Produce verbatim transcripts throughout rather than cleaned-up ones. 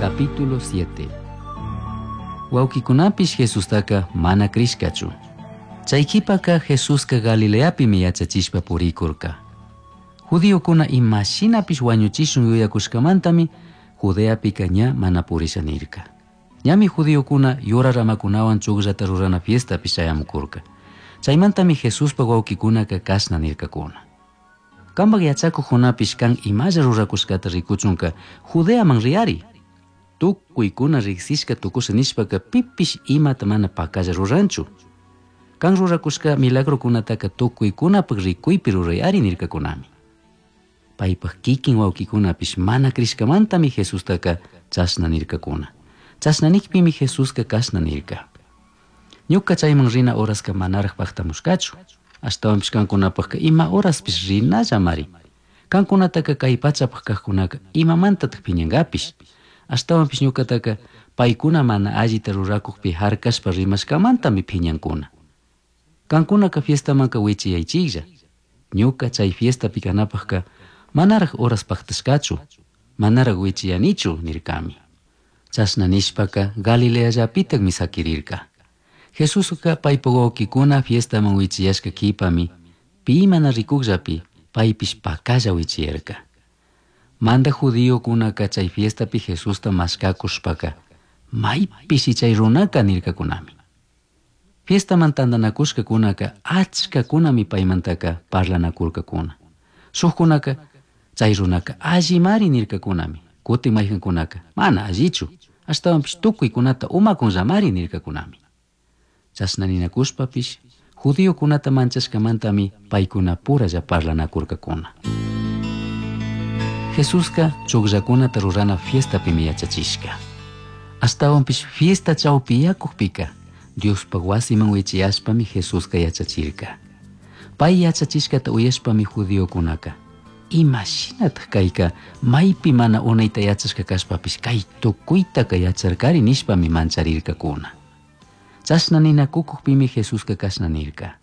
Capítulo siete. Huauquicunapish Jesustaca mana crishcachu. Chay quipaca Jesusca Galileapimi yachachishpa puricurca. Judiocuna imashinapish huañuchishun yuyacushcamantami Judeapica ña mana purisha nirca. Ñami judiocuna yura ramacunahuan chugllata rurana fiestapish chayamucurca. Chaymantami Jesuspa huauquicunaca cashna nircacuna. Cambaj yachacujunapish can imalla ruracushcata ricuchunca Judeaman riyari. Tucuicuna rigsishca tucusha nishpaca pipish imata mana pacalla ruranchu. Can ruracushca milagrocunataca tucuicunapaj ricuipi rurayari nircacunami. Paipaj kikin huauquicunapish mana crishcamantami Jesustaca chashna nircacuna. Chashna nijpimi Jesusca cashna nirca. Ñuca chayman rina horasca manaraj pajtamushcachu. Ashtawanpish cancunapajca ima horaspish rinallamari. Cancunataca cai pachapaj cajcunaca imamantataj piñangapish. Ashtawanpish ñucataca paicuna mana allita rurakujpi harkashpa rimashcamantami piñancuna. Cancunaca fiestamanca wichiyaychiklla. Ñuca chay fiestapi kanapajka manaraj horas pajtashcachu, manaraj wichiyanichu nircami. Chashna nishpaca Galileallapitajmi saquirirca. Jesusca paipa huauquicuna fiestaman wichiyashca quipami pi mana ricujllapi paipish pacalla wichiyarca. Manda judiocunaca chay fiestapi Jesusta mashcacushpaca maypishi chay runaka nircacunami. Fiestaman tandanacushcacunaca achcacunami paimantaca parlanacurcacuna. Shujcunaca chay runaka allimari nircacunami. Cutin mayjancunaca mana allichu, ashtawanpish tucuicunata umacunllamari nircacunami. Chashna ninacushpapish judiocunata manchashcamantami paicunapuralla parlanacurcacuna. Jesusca chugllacunata rurana fiestapimi yachachishca. Ashtawanpish fiesta chawpiyakujpika Diospaj wasiman wichiyashpami Jesusca yachachirca. Pai yachachishcata uyashpami judiocunaca imashinataj kayka maypi mana unayta yachashka kashpapish kay tukuytaka yacharkari nishpami mancharircacuna. Chashna ninakukujpimi Jesusca cashna nirca.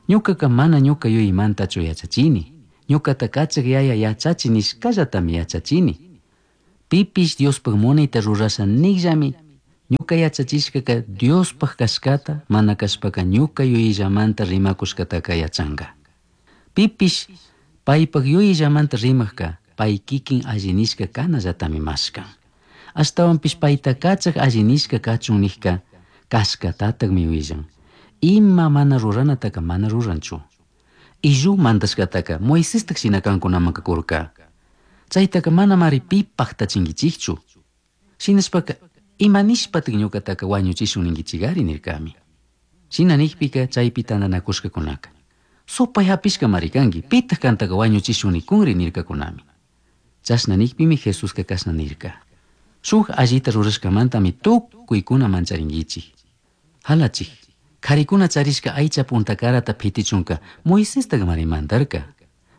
Ñucaca mana ñuca yuyaymantachu yachachini. Ñucata kachaj yaya yachachi nishcallatami yachachini. Pipish Diospaj munayta rurasha nijllami ñuca yachachishcaca Diospaj cashcata mana cashpaca ñuca yuyillamanta rimacushcataca yachanga. Pipish paipaj yuyillamanta rimajca pai kikin alli nishca canallatami mashcan. Ashtawanpish paita kachaj alli nishca kachun nijca cashcatatajmi willan. Ima mana ruranataca mana ruranchu. Illu mandashcataca Moisestaj shina cancunamanca curca. Chaytaca manamari pi pajtachinguichikchu. Shinashpaca ima nishpataj ñucataca huañuchishun ninguichigari nircami. Shina nijpica chaypi tandanacushcacunaca supay hapishcamari kanki, pitaj cantaca huañuchishun nikunri nircacunami. Chashna nijpimi Jesusca cashna nirca. Shuj allita rurashcamantami tucuicuna mancharinguichik. Halachik, karikuna charishca aycha puntacarata pitichunca Moisestajmari mandarca.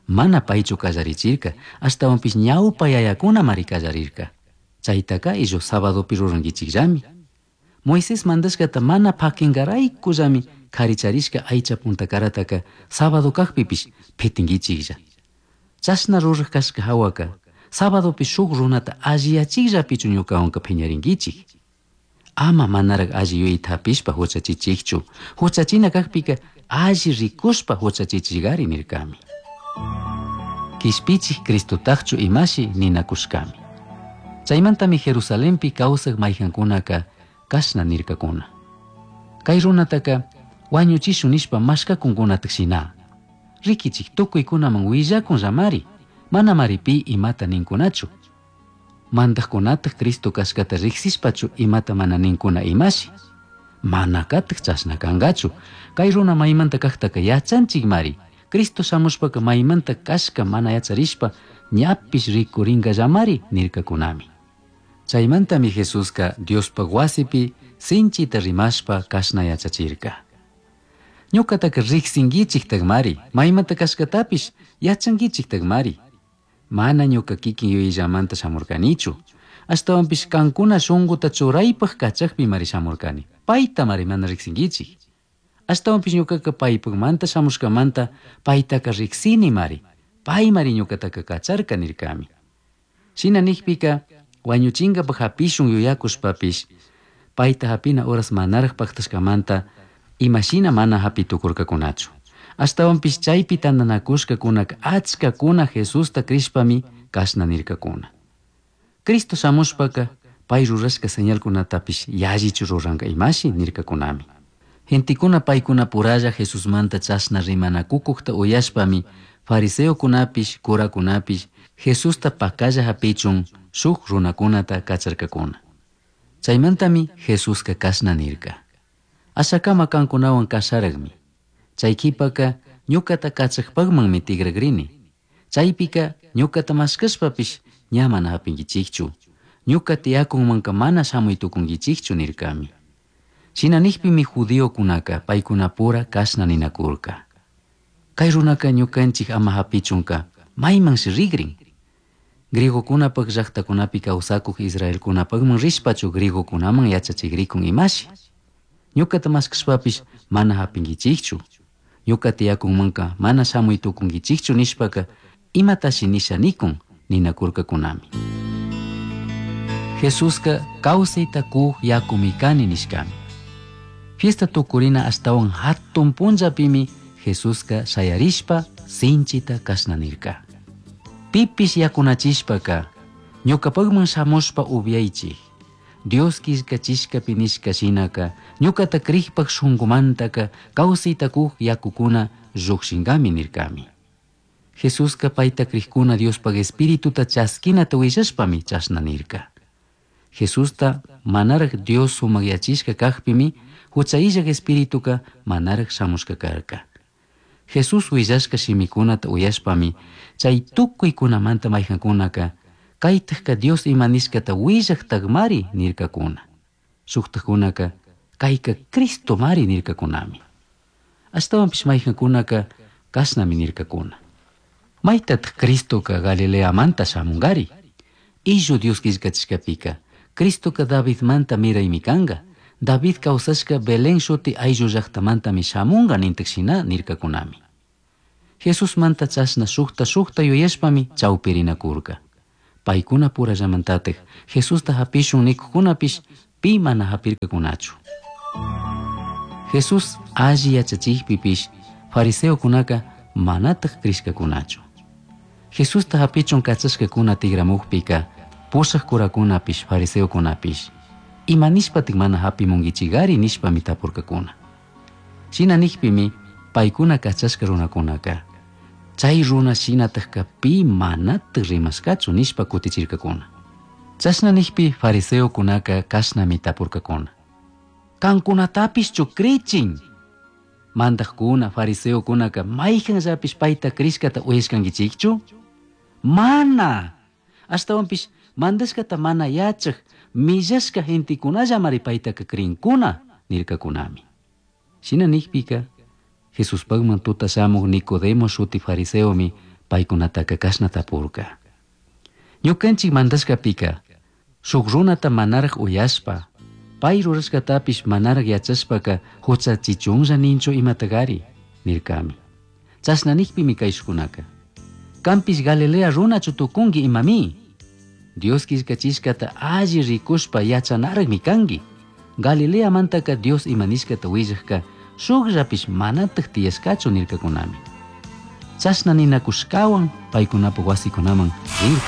Mana paychu kallarichirca, ashtawanpish ñawpa yayakunamari kallarirca. Chaytaca illu sabadopi ruranguichikllami. Moisés mandashkata mana pakingaraykullami kari charishka aycha puntacarataka sábado kajpipish pitinguichiklla. Chashna ruraj kashka hawaka sabadopi shuk runata alliyachikllapichu ñukawanka piñaringuichik. Ama manaraj alli yuyayta hapishpa huchachichikchu. Huchachina kajpika alli rikushpa huchachichigari nirkami. Kishpichik Cristotajchu imashi ninakushkami. Chaymantami Jerusalenpi kawsaj mayjankunaka kashna nirkakuna. Kay runataka wañuchishun nishpa mashkakunkunataj shina. Rikichik tukuykunaman willakunllamari, manamari pi imata ninkunachu. Mandajkunataj Cristo kashkata riksishpachu imata mana ninkuna imashi. Manakataj chashna kankachu. Kay runa maymanta kajtaka yachanchikmari. Cristo shamushpaka maymanta kashka mana yacharishpa ñapish rikurinkallamari nirkakunami. Chaymantami Jesusca Diospaj wasipi sinchita rimashpa kashna yachachirka. Ñucataka riksinkichiktakmari, maymanta kashkatapish yachankichiktakmari. Mana ñuka kikin yuyillamanta shamurkanichu. Ashtawanpish kankuna shunkuta churaypaj kachajpimari shamurkani. Paytamari mana riksinkichik. Ashtawanpish ñukaka paypajmanta shamushkamanta paytaka riksinimari. Paymari ñukataka kacharka nirkami. Shina nijpika Huañuchingapaj hapishun yuyacushpapish paita hapina horas manaraj pajtashcamanta imashina mana hapi tucurcacunachu. Ashtahuanpish chaipi tandanacushcacunaca achcacuna Jesusta crishpami cashna nircacuna. Cristo shamushpaca pai rurashca señalcunatapish yallichu ruranca imashi nircacunami. Gentecuna paicunapuralla Jesusmanta chashna rimanacucujta uyashpami fariseocunapish, curacunapish Jesusta pacalla japichun shuj runacunata cacharcacuna. Chaimantami Jesusca cashna nirca. Ashacama cancunahuan casharajmi. Chai quipaca ñucata cachajpajmanmi tigragrini. Chaipica ñucata mashcashpapish ña mana japinguichijchu. Ñuca tiyacunmanca mana shamui tucunguichijchu nircami. Shina nijpimi judiocunaca paicunapura cashna ninacurca. Cai runaca ñucanchij ama japichunca maimanshi rigrin. Griegocunapaj llajtacunapi causacuj israelcunapajman rishpachu griegocunaman yachachigricun imashi. Ñucata mashcashpapish mana japinguichijchu. Ñuca tiyacunmanca mana shamui tucunguichijchu nishpaca imatashi nisha nicun ninacurcacunami. Jesusca causaita cuj yacumi cani nishcami. Fiesta tucurina ashtahuan jatun punllapimi Jesusca shayarishpa sinchita cashna nirca. Pipish yacunachishpaca ñucapajman shamushpa upiaichij. Dios quillcachishcapi nishca shinaca ñucata crijpaj shungumantaca causaita cuj yacucuna llujshingami nircami. Jesusca paita crijcuna Diospaj Espirituta chasquinata huillashpami chashna nirca. Jesusta manaraj Dios sumagyachishca cajpimi jucha illaj Espirituca manaraj shamushca carca. Jesús huillashca shimicunata uyashpami chay tucuicunamanta maijancunaca caitajca Dios ima nishcata huillajtajmari nircacuna. Shujtajcunaca caica Cristomari nircacunami. Ashtahuanpish maijancunaca cashnami nircacuna. Maitataj Cristoca Galileamanta shamungari. Illu Dios quillcachishcapica Cristoca Davidmanta miraimi canga. David causashca Belén shuti ayllu llajtamantami shamunga nintaj shina nircacunami. Jesusmanta chashna shujta shujta yuyashpami chaupirinacurca. Paicuna purallamantataj Jesusta japishun nicujcunapish pi mana japircacunachu. Jesús alli yachachijpipish fariseocunaca manataj crishcacunachu. Jesusta japichun cachashcacuna tigramujpica pushaj curacunapish fariseocunapish ima nishpataj mana japimunguichigari nishpami tapurcacuna. Shina nijpimi paicuna cachashca runacunaca chay runa shinatajca pi manataj rimashcachu nishpa cutichircacuna. Chashna nijpi fariseocunaca cashnami tapurcacuna. Cancunatapishchu crichin. Mandajcuna fariseocunaca maijanllapish paita crishcata uyashcanguichikchu? Mana! Ashtahuanpish mandashcata mana yachaj millashca gentecunallamari paitaca crincuna nircacunami. Shina nijpica Jesuspajman tuta shamuj Nicodemo shuti fariseomi paicunataca cashna tapurca. Ñucanchik mandashcapica shuk runata manaraj uyashpa pai rurashcatapish manaraj yachashpaca huchachichunlla ninchu imatagari nircami. Chashna nijpimi caishcunaca. Canpish Galilea runachu tucungui imami. Dios quillcachishcata alli ricushpa yachanarajmi cangui. Galileamantaka Dios ima nishcata huillajca shukllapish manataj tiyashcachu nircacunami. Chashna ninacushcahuan paicunapaj huasicunaman rirca.